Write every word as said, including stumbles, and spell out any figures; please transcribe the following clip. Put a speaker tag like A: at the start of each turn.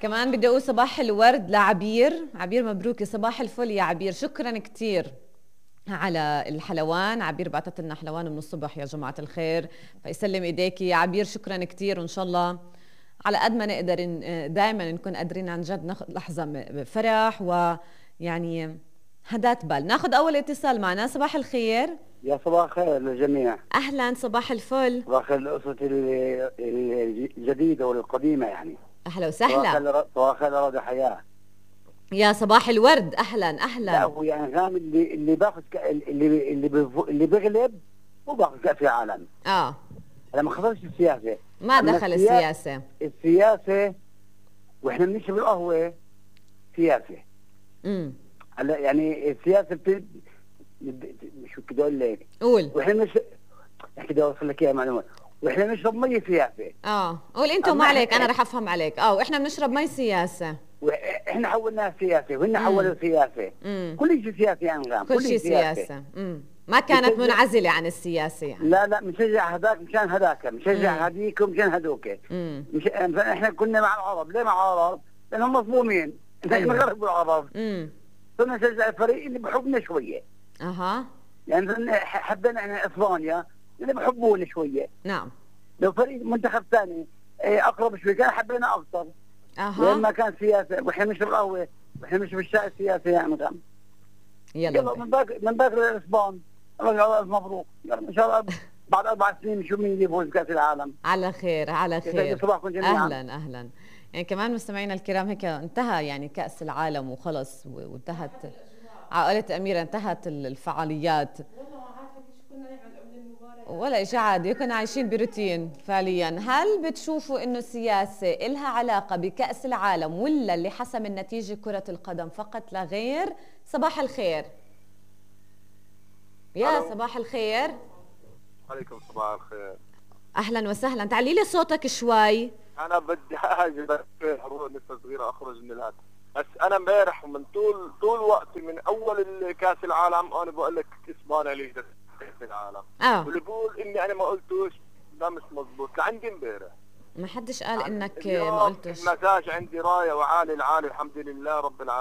A: كمان بدي اقول صباح الورد لعبير. عبير مبروك، صباح الفل يا عبير، شكرا كتير على الحلوان. عبير بعتت لنا حلوان من الصبح يا جماعة الخير، فيسلم ايديكي يا عبير، شكرا كتير. وان شاء الله على قد ما نقدر دائما نكون قادرين عن جد ناخذ لحظة فرح ويعني هدات بال. ناخذ اول اتصال معنا. صباح الخير.
B: يا صباح الخير للجميع.
A: اهلا، صباح الفل.
B: صباح الخير للأسرة الجديدة والقديمة يعني.
A: اهلا وسهلا.
B: صباح الخير لرادة حياة.
A: يا صباح الورد، اهلا اهلا.
B: لا هو يعني فاهم اللي اللي باخذ اللي اللي اللي بيغلب هو باخذ كأس العالم.
A: اه
B: انا ما خسرش السياسة.
A: ما دخل السياسة.
B: السياسة واحنا بنشرب القهوة سياسة.
A: امم
B: هلا يعني السياسة بت... شو بدي اقول لك؟
A: قول.
B: واحنا مش بدي اوصل لك اياها معلومة. واحنا بنشرب مي سياسة.
A: اه قول انت وما عليك، انا رح افهم عليك. اه واحنا بنشرب مي سياسة.
B: واحنا حولناها سياسة وهن حولوا سياسة.
A: مم.
B: كل شيء سياسي يعني غام.
A: كل شيء سياسة, سياسة. امم ما كانت منعزلة عن السياسة يعني.
B: لا لا مشجع هذاك مشان هذاك، مشجع هذيك ومشان هذوك. مش احنا كنا مع العرب، ليه مع العرب؟ لانهم مظلومين، احنا غرب العرب.
A: امم
B: صرنا نشجع الفريق اللي بحبنا شوية.
A: اها
B: يعني حبينا احنا اسبانيا اللي بحبونا شوية.
A: نعم.
B: لو فريق منتخب ثاني اقرب شوي كان حبينا اكثر.
A: اها
B: لما كان سياسة واحنا مش بالقهوة واحنا مش بالشاي السياسي يعني غام.
A: يلا,
B: يلا من باكر من باكر الاسبان. الله مبروك، يلا ان شاء الله بعد اربع سنين نشوف مين اللي يفوز كاس العالم.
A: على خير على خير.
B: صباحكم جميعا.
A: اهلا اهلا. يعني كمان مستمعينا الكرام هيك انتهى يعني كاس العالم وخلص وانتهت عائله اميره، انتهت الفعاليات ولا شيء عادي، كنا عايشين بروتين فعليا. هل بتشوفوا انه السياسه إلها علاقه بكاس العالم ولا اللي حسم النتيجه كره القدم فقط لا غير؟ صباح الخير. يا ألو. صباح الخير.
C: عليكم صباح الخير.
A: اهلا وسهلا. تعلي لي صوتك شوي.
C: انا بدي اجي اروح نفس صغيره اخرج من الهاتف. بس انا امبارح ومن طول طول وقتي من اول كاس العالم انا بقول لك اسبانيا اللي كاس العالم.
A: اه
C: واللي بقول اني انا ما قلتوش ده مش مزبوط لعندي امبارح.
A: ما حدش قال انك ما قلتش.
C: المزاج عندي رايه وعالي العالي الحمد لله رب العالمين.